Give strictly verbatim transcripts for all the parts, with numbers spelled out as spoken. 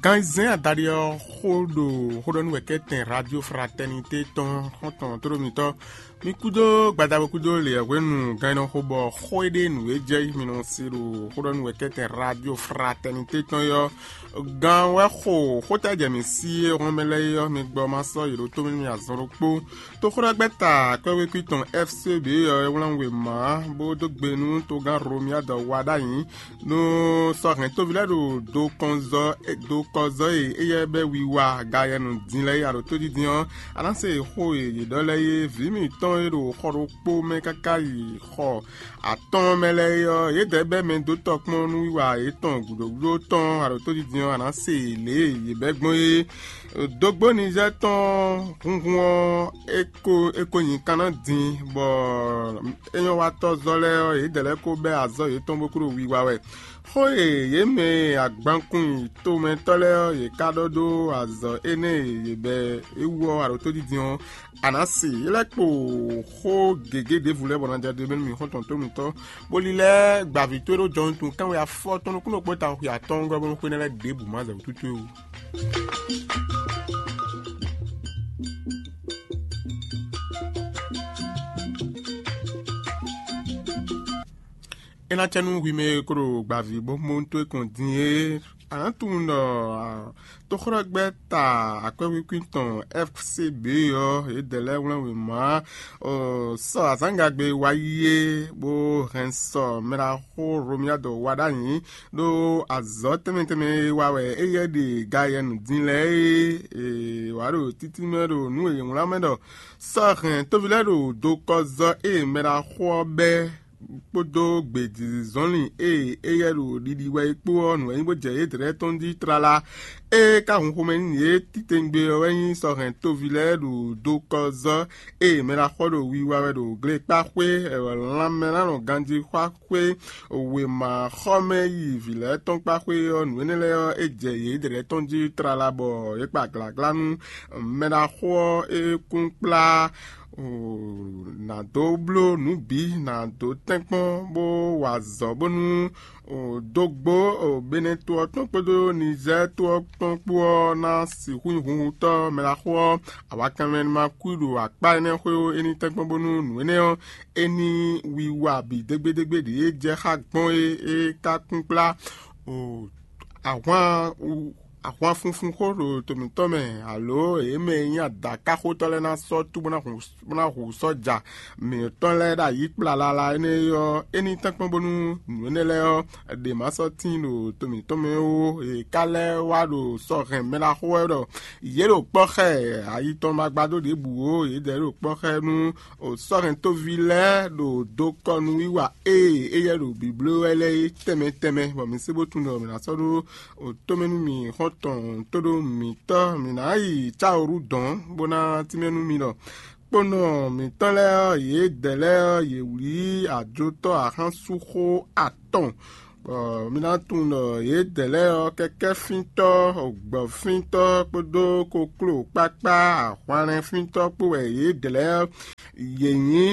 Gan zɛ́n adaɖé ɔ́ xó ɖo xóɖɔ́núwɛkɛ́tɛn Radio Fraternité tɔn xɔ́ntɔn tóɖómitɔ́. Mi kúdó gbadabo kúdó lě ɔ́ hwenu gan e nɔ xo bɔ xó e ɖe nǔ e jɛ yí mi nɔ se ɖo xóɖɔ́núwɛkɛ́tɛn Radio Fraternité tɔn é ɔ́, gan wɛ xo xóta jɛ mǐ sí e hɔn mɛ lɛ́ɛ é ɔ́, mi gbɔ ma sɔ́ yě ɖó tó mì nú mì azɔn ɖokpó. Toxóɖɔgbɛ́ta kwɛ́wékwín tɔn F C B ɔ́ é wlán wěma bó dó gbe nú togán Romiadɔ wa ɖ'ayǐ nú sɔ́ hɛn tóví lɛ́ɛ ɖo dokɔnzɔ dokɔzɔ e éyɛ́ bɛ́ wiwa gayɛnu din lɛ́ɛ yi aɖǒ tódídin ɔ́, a nǎ se xó e yě ɖɔ lɛ́ɛ é. Vǐ mǐtɔn e ɖo xɔ ɖokpó mɛ káká yi xɔ atɔ́ɔ́n mɛ lɛ́ɛ é ɔ́, yědɛɛ bɛ́ mɛ dó tɔkpɔ́n nú wiwa yětɔn gǔdo gúdo tɔn aɖǒ tódídin ɔ́, a nǎ se lě e yě bɛ́ gbɔn é. Dógbó Nizɛ́ɛ tɔn hunhun ɔ́, é ko é ko nyi kanná din, bɔ é nyɔ́ wa tɔ́ zɔ́ lɛ́ɛ ɔ́, yědɛɛ lɛ́ɛ ko bɛ́ azɔ̌ yětɔn bó kú ɖo wiwa wɛ. Xó e yě mɛ e agbankun yi tomɛtɔ́ lɛ́ɛ ɔ́, yě ká ɖɔ dó azɔ̌ énɛ́ e yě bɛ́ é wú ɔ́ aɖǒ tódídin ɔ́, a nǎ se. É lɛ́ kpo xó gěgé ɖěvo lɛ́ɛ bɔ ná jɛ ɖe bɛ́ nú mì xɔ́ntɔn tónútɔ́, bó lílɛ́ gbavǐ towe ɖó jɔnutun kánwé afɔtɔn nukúnnú kpó tawun xwe atɔ́ɔ́ngɔ́ bónú xwé nɛ́ lɛ́ɛ ɖěbǔ ma zɛ wútútú é wú. É ná cɛ nú hwi mɛ e ko ɖo gbavǐ bó mɔ towe kɔn din é, a nǎ tunwun ɖɔ toxlɔ́gbɛ́ ta akwɛ́wíkwín tɔn F C B ɔ́, yědɛɛ lɛ́ɛ wlán wěma sɔ azǎngagbe wá yi é, bó hɛn sɔ mɛɖaxó Romiadɔ wá ɖ'ayǐ ɖó azɔ̌ tɛnmɛ tɛnmɛ e wa wɛ éyɛ́ ɖe gayɛnu din lɛ́ɛ é. È wǎ ɖo títí mɛ ɖo nǔ e è wlán mɛ ɖɔ sɔ́ hɛn tóví lɛ́ɛ ɖo dokɔzɔ́ e mɛɖaxó ɔ́ bɛ́ kpódó gbějizɔ́nlin e éyɛ́ ɖo ɖiɖi wɛ é kpó ɔ́, nǔ wɛ nyí bó jɛ yědɛɛ tɔn jí tlala. Ée ka hun xomɛ nú yě titewungbe ɔ́ wɛ nyí sɔ́ hɛn tóví lɛ́ɛ ɖo dokɔzɔ́ e mɛɖaxó ɖo wiwa wɛ ɖo glekpáxwé lanmɛ ná nɔ ganjí xwá xwé wěma xɔmɛ yi vǐ lɛ́ɛ tɔn kpá xwé ɔ́, nǔ énɛ́ lɛ́ɛ ɔ́, é jɛ yědɛɛ tɔn jí tlala bɔ yě kpa glǎglá nú mɛɖaxó ɔ́, é kún kplá nǎ dó bló nǔ bǐ, nǎ dó tɛ́nkpɔ́n bó wa azɔ̌ bónú dógbó Benɛto ɔ́ tɔn kpódó Nizɛ́ɛ to ɔ́ tɔn kpó ɔ́ ná sixú nyí hunhutɔ́ mɛɖaxó ɔ́, awakanmɛ ma kú ɖo akpá énɛ́ xwé ó. É ní tɛ́nkpɔ́n bónú nǔ énɛ́ ɔ́, é ní wiwa bǐ dégbédégbé ɖě e jɛ xá gbɔn é, é ka kún kplá ahwan ahwan funfun xó ɖo to mǐtɔn mɛ, alo yě mɛ e nyí adǎkáxotɔ́ lɛ́ɛ ná sɔ́ tú bó ná hu bó ná hu sɔ́ja mǐtɔn lɛ́ɛ ɖo ayǐ kplalala énɛ́ é ɔ́, é ní tɛ́nkpɔ́n bónú nǔ énɛ́ lɛ́ɛ ɔ́, ɖě ma sɔ́ tíin ɖo to mǐtɔn mɛ ó. È ka lɛ́ wá ɖo sɔ́ hɛn mɛɖaxó wɛ ɖɔ yě ɖo kpɔ́ xá ɛ ayi tɔn ma gbadó ɖěbǔ ó, yědɛɛ ɖo kpɔ́ xá ɛ nú sɔ́ hɛn tóví lɛ́ɛ ɖo dokɔnuwiwa e éyɛ́ ɖo bibló wɛ lɛ́ɛ é tɛnmɛ tɛnmɛ, bɔ mi sé bó tunwun ɖɔ mǐ ná sɔ́ ɖó tomɛ nú mì xɔ́ntɔn tóɖó mǐtɔn, mǐ ná yi cáwǔɖu dɔ̌n bó ná tínmɛ nú mi ɖɔ kponɔ mǐtɔn lɛ́ɛ ɔ́, yědɛɛ lɛ́ɛ ɔ́, yě wlí ajotɔ́ axánsúxó atɔn, bɔ mi ná tunwun ɖɔ yědɛɛ lɛ́ɛ ɔ́, kɛkɛ́fíntɔ́, gbɔ̌fíntɔ́ kpódó kokló kpákpá ahwanlɛ́nfíntɔ́ kpó wɛ yědɛɛ lɛ́ɛ ɔ́, yě nyí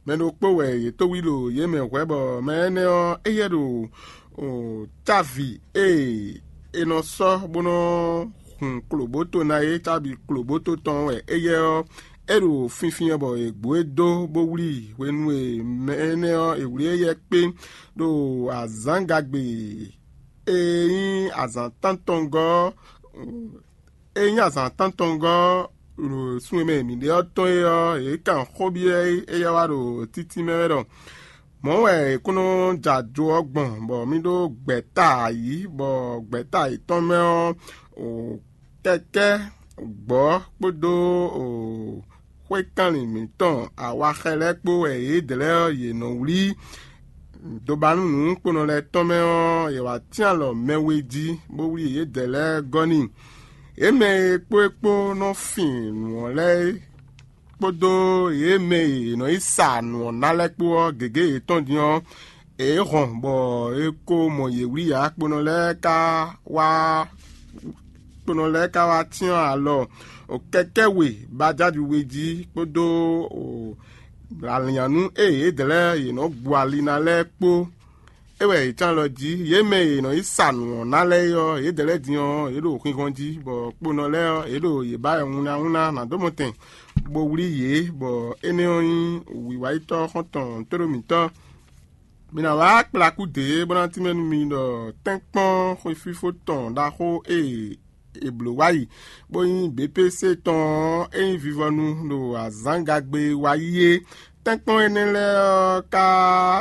mɛ ɖokpó wɛ yě tó wí ɖo yě mɛ hwɛ̌, bɔ mɛ énɛ́ ɔ́, éyɛ́ ɖo távi e è nɔ sɔ́ bó nɔ́ hun klobǒto ná é, távi klobǒto tɔn wɛ éyɛ́ ɔ́, é ɖo finfin ɔ́ bɔ è gbǒ é dó bó wlí i. Hwenu e mɛ énɛ́ ɔ́, è wlí éyɛ́ kpé ɖo azǎngagbe e nyí azǎn tántɔngɔ́ ɔ́, é nyí azǎn tántɔngɔ́ ɖo sun e mɛ mǐ ɖe ɔ́ tɔn é ɔ́, yě kan xó byɔ́ éyɛ́ wá ɖo títí mɛ wɛ ɖɔ mɔ̌ wɛ è kún nɔ jɛ ajo ɔ́ gbɔn, bɔ mì ɖó gbɛ̌ta ayǐ, bɔ gbɛ̌ta yětɔn mɛ ɔ́, kɛkɛ́ gbɔ̌ kpódó xwékanlin mǐtɔn awaxɛ lɛ́ɛ kpó wɛ yědɛɛ lɛ́ɛ ɔ́, yě nɔ wlí. Dobanu nǔkponɔ lɛ́ɛ tɔn mɛ ɔ́, yě wá tɛ́n alɔ mɛ we jí, bó wlí yědɛɛ lɛ́ɛ gɔ́ n'i. Yě mɛ e kpó é kpó nɔ fin nǔ ɔ́ lɛ́ɛ é, kpódó yě mɛ e yě nɔ yi sa nǔ ɔ́ ná lɛ́ɛ kpó ɔ́, gěgé yětɔn din ɔ́, yě hɔn bɔ è ko mɔ yě wlí ǎ. Kponɔ lɛ́ɛ ka wá kponɔ lɛ́ɛ ka wá cyɔ́n alɔ kɛkɛ́ we bajadu we jí kpódó alǐnnyánú e yědɛɛ lɛ́ɛ yě nɔ gbo ali ná lɛ́ɛ kpó. É wɛ è cán lɔ jí. Yě mɛ e è nɔ yi sa nǔ ɔ́ ná lɛ́ɛ é ɔ́, yědɛɛ lɛ́ɛ din ɔ́, yě ɖo xinxɔ́n jí, bɔ kponɔ lɛ́ɛ ɔ́, yě ɖo yě ba wɛ wunlawunla ná dó mɔ tɛn, bó wlí yě, bɔ énɛ́ ɔ́ nyí wǐwáyítɔ́ xɔ́ntɔn tóɖó mǐtɔn. Mi ná wá kplakú dě bó ná tínmɛ nú mi ɖɔ tɛ́nkpɔ́n xwefífó tɔn ɖaxó e è blǒ wá yi, bó nyí B P C tɔn ɔ́, é nyí vivɔnu ɖo azǎngagbe wá yi é. Tɛ́nkpɔ́n énɛ́ lɛ́ɛ ɔ́ ka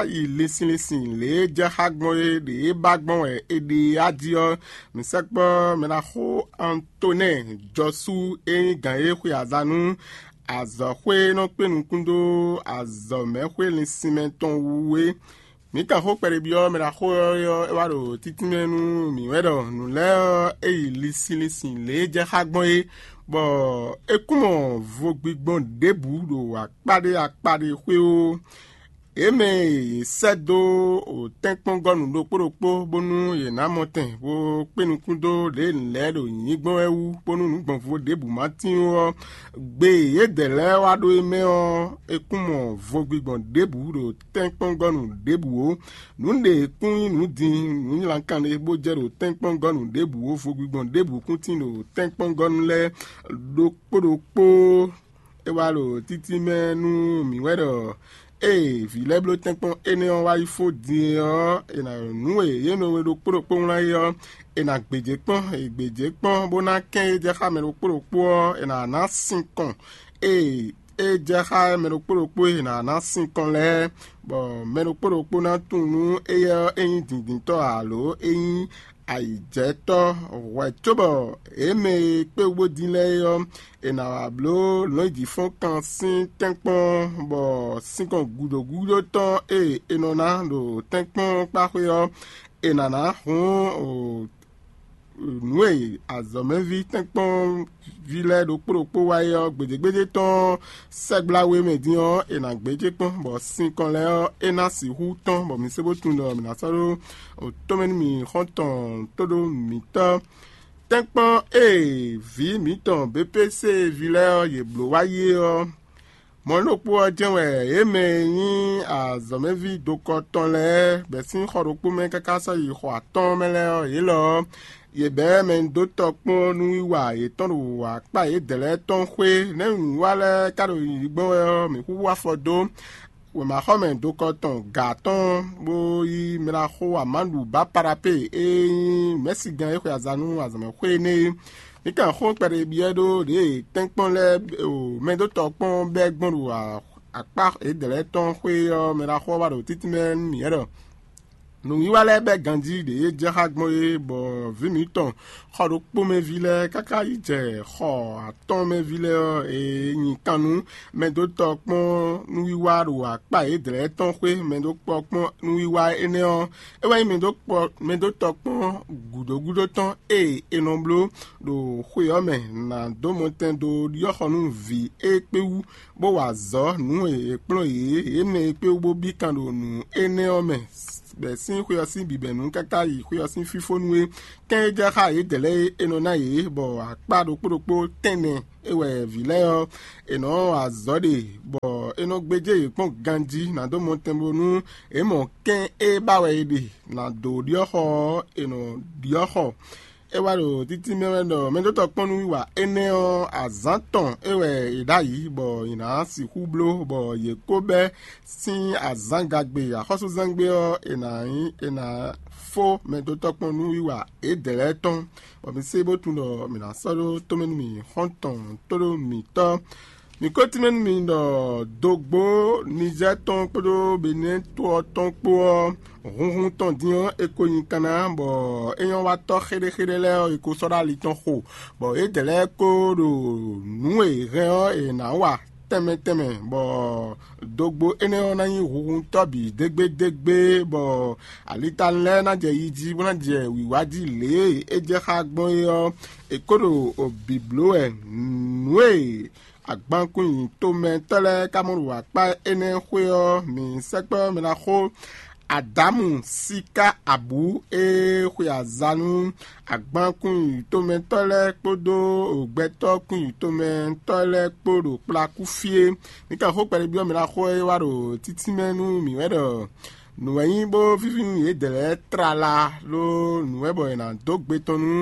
yi linsin linsin lě e jɛ xá gbɔn é ɖě e ba gbɔn wɛ è ɖe á jí ɔ́. Mǐ sɛkpɔ́ mɛɖaxó Antonɛ́ɛ Jɔsú e nyí gǎn e xwe aza nú azɔ̌xwé e nɔ kpé nukún dó azɔ̌mɛxwé linsinmɛ tɔn wú é. Mǐ kan xó kpɛɖé byɔ́ mɛ ɖaxó ɔ́ é wá ɖo títínmɛ nú mǐ wɛ ɖɔ nǔ lɛ́ɛ ɔ́, é yi linsin linsin lě e jɛ xá gbɔn é, bɔ é kún mɔ vo gbigbɔn ɖěbǔ ɖo akpá ɖé akpá ɖé xwé ó. Yě mɛ e yě sɛ́ dó tɛ́nkpɔ́ngɔ́nu ɖokpó ɖokpó bónú yě ná mɔ tɛn bó kpé nukún dó lě e nǔ lɛ́ɛ ɖo nyǐ gbɔn wɛ wú, bónú nǔ gbɔn vo ɖěbǔ ma tín ó ɔ́, gbe e yědɛɛ lɛ́ɛ wá ɖó é mɛ ɔ́, é kún mɔ vo gbigbɔn ɖěbǔ ɖo tɛ́nkpɔ́ngɔ́nu ɖěbǔ ó. Nǔ ɖě kún nyí nǔ din nǔ nylánkan ɖé bó jɛ ɖo tɛ́nkpɔ́ngɔ́nu ɖěbǔ ó, vo gbigbɔn ɖěbǔ kún tín ɖo tɛ́nkpɔ́ngɔ́nu lɛ́ɛ ɖokpó ɖokpó. É wá ɖo títí mɛ nú mǐ wɛ ɖɔ ée vǐ lɛ́ɛ bló tɛ́nkpɔ́n énɛ́ ɔ́ wá yi fó din é ɔ́, è nǎ nǔ e yě mɛ we ɖokpó ɖokpó wlán é ɔ́, è nǎ gbějé kpɔ́n, è gbějé kpɔ́n bó ná kɛn e jɛ xá mɛ ɖokpó ɖokpó ɔ́, è nǎ ná sin kɔn. Ée é jɛ xá mɛ ɖokpó ɖokpó e è nǎ ná sin kɔn lɛ́ɛ, bɔ mɛ ɖokpó ɖokpó ná tunwun nú éyɛ́ ɔ́ é nyí dǐndíntɔ́ ǎ lǒ é nyí ayǐjɛtɔ́ hwɛ̌ cóbɔ yě mɛ e kpé wú bó dín lɛ́ɛ é ɔ́, è nǎ wá bló lɔ̌nyijǐfɔ́nkan sín tɛ́nkpɔ́n, bɔ sinkɔn gǔdo gúdo tɔn e è nɔ ná ɖo tɛ́nkpɔ́n kpáxwé ɔ́, è nǎ ná hun nǔ e azɔ̌mɛví tɛ́nkpɔ́nví lɛ́ɛ ɖokpó ɖokpó wa é ɔ́, gbědégbédé tɔn sɛgbla we mɛ din ɔ́, è nǎ gbéjé kpɔ́n, bɔ sinkɔn lɛ́ɛ ɔ́, é ná sixú tɔ́n, bɔ mi sé bó tunwun ɖɔ mǐ ná sɔ́ ɖó tɔ́mɛ nú mì xɔ́ntɔn tóɖó mǐtɔn. Tɛ́nkpɔ́n e vǐ mǐtɔn B P C ví lɛ́ɛ ɔ́, yě bló wá yi é ɔ́, mɔ̌ ɖokpó ɔ́ jɛ́n wɛ yě mɛ e nyí azɔ̌mɛví dokɔ tɔn lɛ́ɛ, bɛ̌ sín xɔ ɖokpó mɛ káká sɔ́ yi xɔ atɔ́ɔ́n mɛ lɛ́ɛ ɔ́, yě lɔ ɔ́, yě bɛ́ mɛ dó tɔ kpɔ́n nú wiwa yětɔn ɖo akpá yědɛɛ lɛ́ɛ tɔn xwé. Nɛ̌ nǔwiwa lɛ́ɛ ka ɖo yiyi gbɔn wɛ ɔ́, mǐ xúxú afɔ dó wěmaxɔmɛ dokɔ tɔn gǎ tɔn, bó yí mla xó amáɖu Baparape e nyí mɛ̌sigán e xwe aza nú azɔ̌mɛxwé énɛ́ é. Mi kan xó kpɛɖé byɔ́ ɖó ɖě tɛ́nkpɔ́n lɛ́ɛ o mɛdótɔ́ kpɔ́n bɛ́ gbɔn ɖo akpá yědɛɛ lɛ́ɛ tɔn xwé ɔ́ mɛ ɖaxó ɔ́ wá ɖo títí mɛ nú mǐ wɛ ɖɔ nǔwiwa lɛ́ɛ bɛ́ ganjí ɖě e jɛ xá gbɔn é, bɔ vǐ mǐtɔn xɔ ɖokpó mɛ ví lɛ́ɛ káká yi jɛ xɔ atɔ́ɔ́n mɛ ví lɛ́ɛ ɔ́, e nyi kan nú mɛdótɔ́ kpɔ́n nǔwiwa ɖo akpá yědɛɛ lɛ́ɛ tɔn xwé, mɛdókpɔ́ kpɔ́n nǔwiwa énɛ́ ɔ́, é wɛ nyí mɛdókpɔ́ mɛdótɔ́ kpɔ́n gǔdo gúdo tɔn e è nɔ bló ɖo xwe ɔ́ mɛ ná dó mɔtɛn dó ɖyɔ́xɔ nú vǐ e kpé wú, bó wa azɔ̌ nǔ e è kplɔ́n yě, yě mɛ e kpé wú bó bí kan ɖo nǔ énɛ́ ɔ́ mɛ, bɛ̌ sín xwe ɔ́ sín bǐbɛ̌nu káká yi xwe ɔ́ sín fífónú é. Kɛ́n e jɛ xá yědɛɛ lɛ́ɛ é, é nɔ ná yě, bɔ akpá ɖokpó ɖokpó tɛ́nnɛ é wɛ vǐ lɛ́ɛ ɔ́, è nɔ wa azɔ̌ ɖe, bɔ è nɔ gbéjé yě kpɔ́n ganjí ná dó mɔtɛn bónú è mɔ kɛ́n e ba wɛ è ɖe ná dó ɖyɔ́xɔ ɔ́, è nɔ ɖyɔ́xɔ. É wá ɖo títí mɛ wɛ ɖɔ mɛdótɔ́ kpɔ́n nú wiwa énɛ́ ɔ́, azǎn tɔn é wɛ è ɖ'ayǐ, bɔ è nǎ sixú bló, bɔ yě kó bɛ́ sín azǎngagbe axɔ́súzangbe ɔ́, è nǎ nyí è nǎ fó mɛdótɔ́ kpɔ́n nú wiwa yědɛɛ lɛ́ɛ tɔn, bɔ mi sé bó tunwun ɖɔ mǐ ná sɔ́ ɖó tómɛ nú mì xɔ́ntɔn tóɖó mǐtɔn. Mǐ ko tínmɛ nú mi ɖɔ dǒgbó Nizɛ́ɛ tɔn kpódó Benɛ́ɛ to ɔ́ tɔn kpó ɔ́, hunhun tɔn din ɔ́, è ko nyi kanna, bɔ é nyɔ́ wá tɔ́ xéɖéxéɖé lɛ́ɛ ɔ́, è ko sɔ́ ɖó ali tɔn xo, bɔ yědɛɛ lɛ́ɛ ko ɖo nǔ e è hɛn ɔ́, è nǎ wa tɛnmɛ tɛnmɛ, bɔ dǒgbó énɛ́ ɔ́ ná nyí hunhuntɔ́ bǐ dégbédégbé, bɔ alitalɛ lɛ́ɛ ná jɛ yi jí, bó ná jɛ wǐwá jí lě e é jɛ xá gbɔn é ɔ́, è ko ɖo bǐbló wɛ nǔ e agbankún nyi tomɛtɔ́ lɛ́ɛ ka mɔ ɖo akpá énɛ́ xwé ɔ́, mǐ sɛkpɔ́ mɛ ná xó Adamu síká abǔ e xwe aza nú agbankún nyi tomɛtɔ́ lɛ́ɛ kpódó gbɛtɔ́ kún nyi tomɛtɔ́ lɛ́ɛ kpó ɖo kplakú fí é. Mi ka xó kpɛɖé byɔ́ mɛ ná xó e wá ɖo títí mɛ nú mǐ wɛ ɖɔ Nǔ wɛ nyí bó víví nú yědɛɛ lɛ́ɛ tlala ɖó nǔ wɛ bɔ è nǎ dó gbe tɔn nú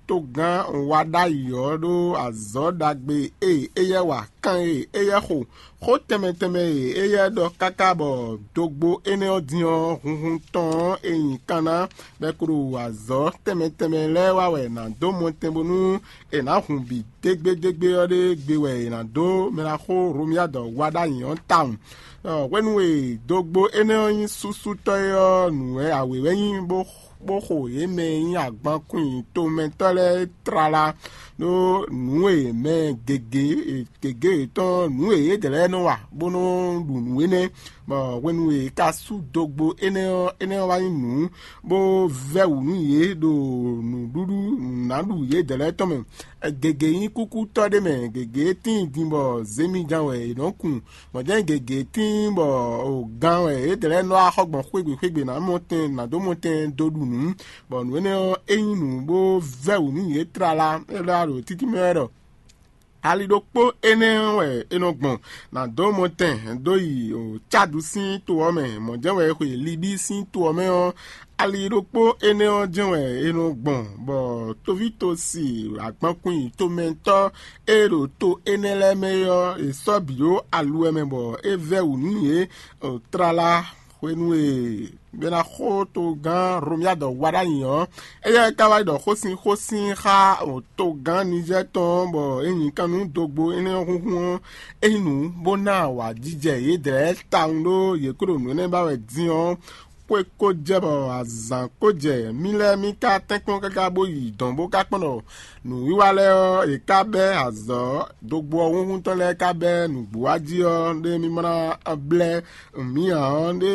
togán wá ɖ'ayǐ ɔ́ ɖó azɔ̌ ɖagbe e éyɛ́ wa, kan e éyɛ́ xo, xó tɛnmɛ tɛnmɛ e éyɛ́ ɖɔ káká bɔ dogbo énɛ́ ɔ́ din ɔ́, hunhun tɔn ɔ́, è nyi kan ná, bɔ è ko ɖo azɔ̌ tɛnmɛ tɛnmɛ lɛ́ɛ wa wɛ è nǎ dó mɔtɛn bónú è nǎ hun bǐ dégbédégbé ɔ́ ɖé gbe wɛ è nǎ dó mɛ ná xó Romia dɔ wá ɖ'ayǐ ɔ́ tawun. Hwenu e dogbo énɛ́ ɔ́ nyí súsútɔ́ é ɔ́, nǔ wɛ awě wɛ nyí bó bó xo yě mɛ e nyí agbankún tomɛtɔ́ lɛ́ɛ tlala ɖó nǔ e mɛ gěgé gěgé yětɔn nǔ e yědɛɛ lɛ́ɛ nɔ wa bó nɔ ɖu nǔ énɛ́, bɔ hwenu e è ka sú dogbo énɛ́ ɔ́, énɛ́ ɔ́ wá nyí nǔ bó vɛ́ wǔ nú yě ɖo nǔɖuɖu nǔnáɖu yědɛɛ lɛ́ɛ tɔn mɛ. Gěgé nyí kúkútɔ́ ɖé mɛ, gěgé tíin din bɔ zěmijan wɛ è nɔ́ kun, mɔ̌ jɛ́n gěgé tíin bɔ gan wɛ yědɛɛ lɛ́ɛ nɔ wá xɔ gbɔn xwé gbe xwé gbe nǎ mɔ tɛn nǎ dó mɔ tɛn dó ɖu nǔ, bɔ nǔ énɛ́ ɔ́, é nyí nǔ bó vɛ́ wǔ nú yě tlala. É ɖɔ ɖo títí mɛ wɛ ɖɔ ali ɖokpó énɛ́ ɔ́ wɛ è nɔ gbɔn nǎ dó mɔ tɛn dó yi Cádu sín to ɔ́ mɛ, mɔ̌ jɛ́n wɛ è xwe Libíi sín to ɔ́ mɛ ɔ́, ali ɖokpó énɛ́ ɔ́ jɛ́n wɛ è nɔ gbɔn, bɔ tovítɔ́si agbankún tomɛtɔ́ e ɖo to énɛ́ lɛ́ɛ mɛ é ɔ́, è sɔ́ bǐ ɖó aluwɛ mɛ bɔ é vɛ́ wǔ nú yě tlala hwenu e bɛ ná xó togán Romia dɔ wá ɖ'ayǐ ɔ́, éyɛ́ ka wá yi ɖɔ xósin xósin xá togán Nizɛ́ tɔn ɔ́, bɔ é nyi kan nú dogbo énɛ́ ɔ́ húnhún ɔ́, é nyí nǔ bó ná awǎjijɛ yědɛɛ tawun ɖó yě kó ɖo nǔ énɛ́ ba wɛ din ɔ́, xwé ko jɛ bɔ azǎn ko jɛ, mí lɛ́ɛ mí ka tɛ́nkpɔ́n káká bó yi dɔ̌n bó ka kpɔ́n ɖɔ nǔwiwa lɛ́ɛ ɔ́, è ka bɛ́ azɔ̌ dogbo ɔ́ húnhún tɔn lɛ́ɛ ka bɛ́ nǔgbó wá jí ɔ́, ɖé mí ma ná blɛ́ mǐ ǎ ɔ́, ɖé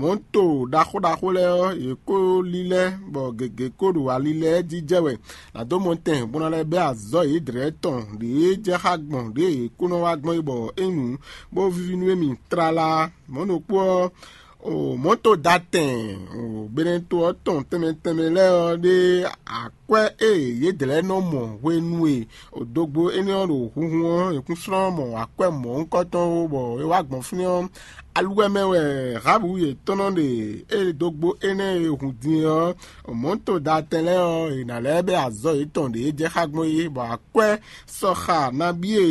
mɔ̌to ɖaxó ɖaxó lɛ́ɛ ɔ́, yě kó lílɛ́, bɔ gěgé kó ɖo ali lɛ́ɛ jí jɛ wɛ. Nǎ dó mɔ tɛn bó ná lɛ́ bɛ́ azɔ̌ yědɛɛ tɔn ɖě jɛ xá gbɔn ɖě yě kó nɔ wá gbɔn é bɔ é nu bó víví nú émí tlala. Mɔ̌ ɖokpó ɔ́, o mɔ̌to da tɛn o Benɛto ɔ́ tɔn tɛnmɛ tɛnmɛ lɛ́ɛ ɔ́ ɖe akwɛ́ e yědɛɛ lɛ́ɛ nɔ mɔ hwenu e o dogbo énɛ́ ɔ́ ɖo hunhun ɔ́, è kún slɔ́n mɔ akwɛ́ mɔ̌hunkɔtɔn ó, bɔ é wá gbɔn fínɛ́ ɔ́, aluwɛ mɛ wɛ Rabu yětɔn nɔ ɖe. E dogbo énɛ́ e hun din ɔ́, mɔ̌to da tɛn lɛ́ɛ ɔ́, è nǎ lɛ́ bɛ́ azɔ̌ yětɔn ɖě jɛ xá gbɔn é, bɔ akwɛ́ sɔxa nabí e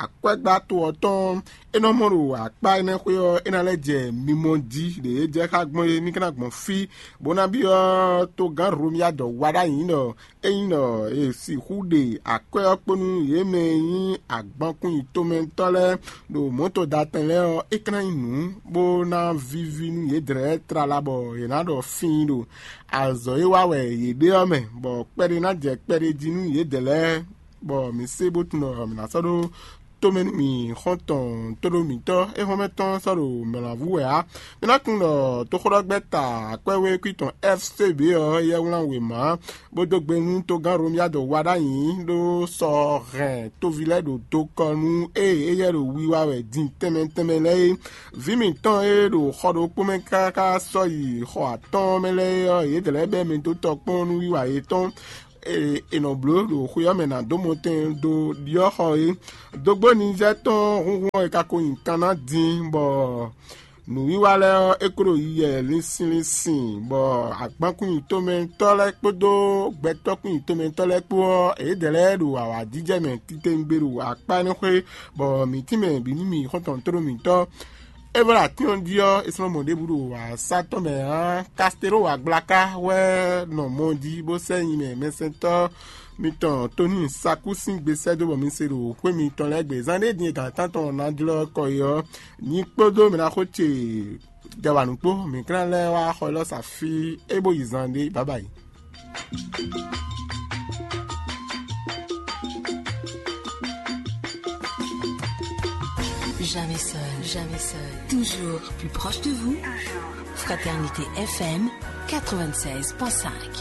akwɛ́gbá to ɔ́ tɔn é nɔ mɔ ɖo akpá énɛ́ xwé ɔ́, é ná lɛ́ jɛ mimɔ jí ɖě é jɛ xá gbɔn é, mí ka ná gbɔn fí, bó ná byɔ́ togán Romia dɔ wá ɖ'ayǐ ɖɔ ényí ɖɔ è sixú ɖe akwɛ́ ɔ́ kpó nú yě mɛ e nyí agbankún yitomɛtɔ́ lɛ́ɛ ɖo mɔ̌to da tɛn lɛ́ɛ ɔ́, é ka ná nyí nǔ bó ná víví nú yědɛɛ tlala bɔ yě ná ɖɔ fíin ɖo azɔ̌ e wa wɛ yě ɖe ɔ́ mɛ, bɔ kpɛɖé ná jɛ kpɛɖé jí nú yědɛɛ lɛ́ɛ, bɔ mǐ se bó tunwun ɖɔ mǐ ná sɔ́ ɖó tomɛ nú mì xɔ́ntɔn tóɖó mǐtɔn e hɔn mɛ tɔn sɔ́ ɖo mɛ̌ ná vú wɛ ǎ. Mi ná tunwun ɖɔ toxóɖɔgbɛ́ta akwɛ́wékwí tɔn F C B ɔ́ yɛ wlán wěma bó dó gbe nú togán Romia dɔ wá ɖ'ayǐ ɖó sɔ hɛn toví lɛ́ɛ ɖo dokɔ nú ée éyɛ́ ɖo wiwa wɛ din tɛnmɛ tɛnmɛ lɛ́ɛ é. Vǐ mǐtɔn e ɖo xɔ ɖokpó mɛ káká sɔ́ yi xɔ atɔ́ɔ́n mɛ lɛ́ɛ é ɔ́, yědɛɛ lɛ́ɛ bɛ́ mɛ dó tɔ kpɔ́n nú wiwa yětɔn e è nɔ bló ɖo xwe ɔ́ mɛ ná dó mɔtɛn dó ɖyɔ́ xɔ é. Dógbó Nizɛ́ tɔn húnhún ɔ́, è ka ko nyi kan ná din, bɔ nǔwiwa lɛ́ɛ ɔ́, é kó ɖo yiyɛ linsin linsin, bɔ agbankún yitomɛtɔ́ lɛ́ɛ kpódó gbɛtɔ́kún yitomɛtɔ́ lɛ́ɛ kpó ɔ́, yědɛɛ lɛ́ɛ ɖo awǎjijɛ mɛ titewungbe ɖo akpá énɛ́ xwé, bɔ mǐ tínmɛ bǐ nú mì xɔ́ntɔn tóɖó mǐtɔn. É vɔ ɖo atín ɔ́ jí ɔ́, è slɔ́ mɔ ɖěbǔ ɖo asá tɔn mɛ ǎ. Kasteló agblaka wɛ nɔ mɔ jí bó sɛ́ nyi mɛ mɛsɛntɔ́ mitɔn Tonii Sakú sín gbe sɛ́ dó bɔ mi se ɖo xwé mitɔn lɛ́ɛ gbe. Zán ɖé din e gǎn tántɔn ná jlɔ́ kɔ yi ɔ́, nyi kpódó mɛ ná xó ce jɛ wa nǔ kpó, mǐ klán lɛ́ɛ wá xɔ élɔ́ sa fí é bó yi zan ɖé bǎbǎyi. Jamais seul, jamais seul. Toujours plus proche de vous. Fraternité F M quatre-vingt-seize point cinq.